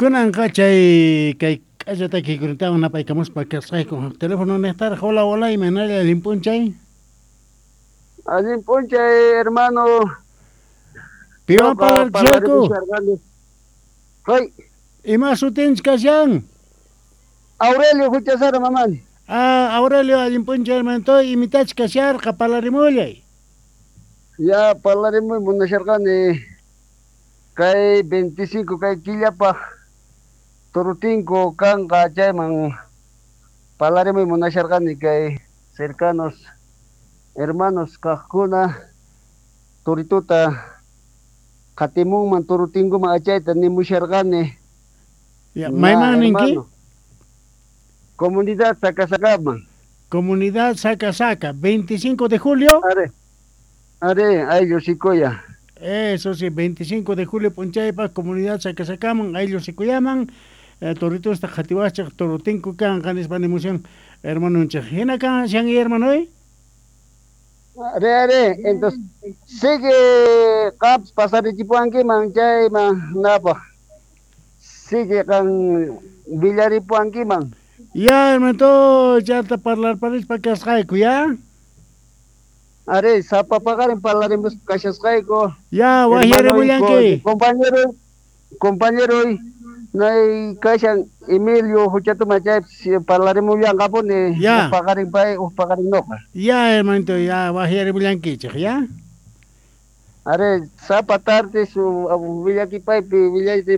Kunanqa chay kay k'alla takiykunatawan napaykamuspa kasqayku. Teléfono nejtaraj, hola, hola, imaynalla allin p'unchay? Allin p'unchay, hermano. Piwan parlarishayku? Hay. Ima sutinchik kashan? Aurelio Huchasara mamani. Ah, Aurelio, allin p'unchay, hermanito, imitach kasharqa, parlarimullay. Ya, parlarimuy munasharqani kay 25 kay killapaj turutinku kanqa chayman parlarimuy munasharqani kay cercanos hermanos kaqkuna turituta qatimunman turutinkuman achayta nimusharqani. Ya, mayman ninki? Comunidad Sacasacama. Comunidad Sacasaca, 25 de julio. Are, are, ayllu Sikuya. Eso sí, 25 de julio p'unchaypaj Comunidad Sacasacaman, ayllu Sikuyaman, toritusta qhatiwachej turutinku kanqa nispa nimushan hermanonchej. Hina kashan hermanoy? Are, are, entonces sigue qaps pasarichipuankiman chayman napaj. Sigue qan villaripuankiman. Ya, hermanito, chata parlarparispa kasqayku, ya? Are, sapa paqarin parlarimus kashasqayku. Ya, wajyarimullanki. Compañero, compañero, nay kashan Emilio Huchatuma chaypis parlarimullanqapuni. Ya. Uj paqarin pay, uj paqarin noqa. Ya, hermanito, ya, wajyarimullankichej, ya? Are, sapa tarde su willakipaypi willayta.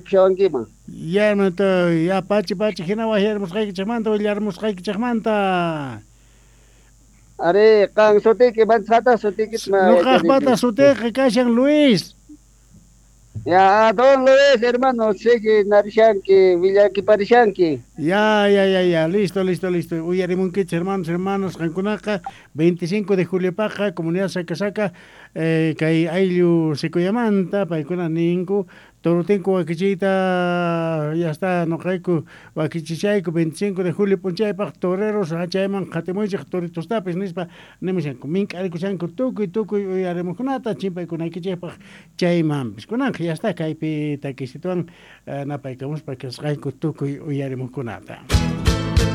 Ya, hermanito, ya, pachi, pachi, hina wajyarimusqaykichejmanta, willarimusqaykichejmanta. Are, qan sutiyki, manchata sutiyki. Noqajpata sutiyqa kashan Luis. Ya, don Luis, hermano, sigue narishanki, villakiparishanki. Ya, ya, ya, ya, listo, listo, listo. Uyarimunkichej, hermanos, hermanos, qankunaqa 25 de julio paqa, Comunidad Sacasaca, kay ayllu Sikuyamanta, paykuna ninku, turutinku wakichiyta, ya está, noqayku wakichichayku 25 de julio p'unchaypaj toreros chayman qhatimuychej toritostapis nispa nimushanku, mink'arikushanku tukuy tukuy uyarimuqkunata chimpaykunaykichejpaj chaymanpis. Kunanqa ya está, kaypi takisituwan napaykamuspa kasqayku tukuy uyarimuqkunata.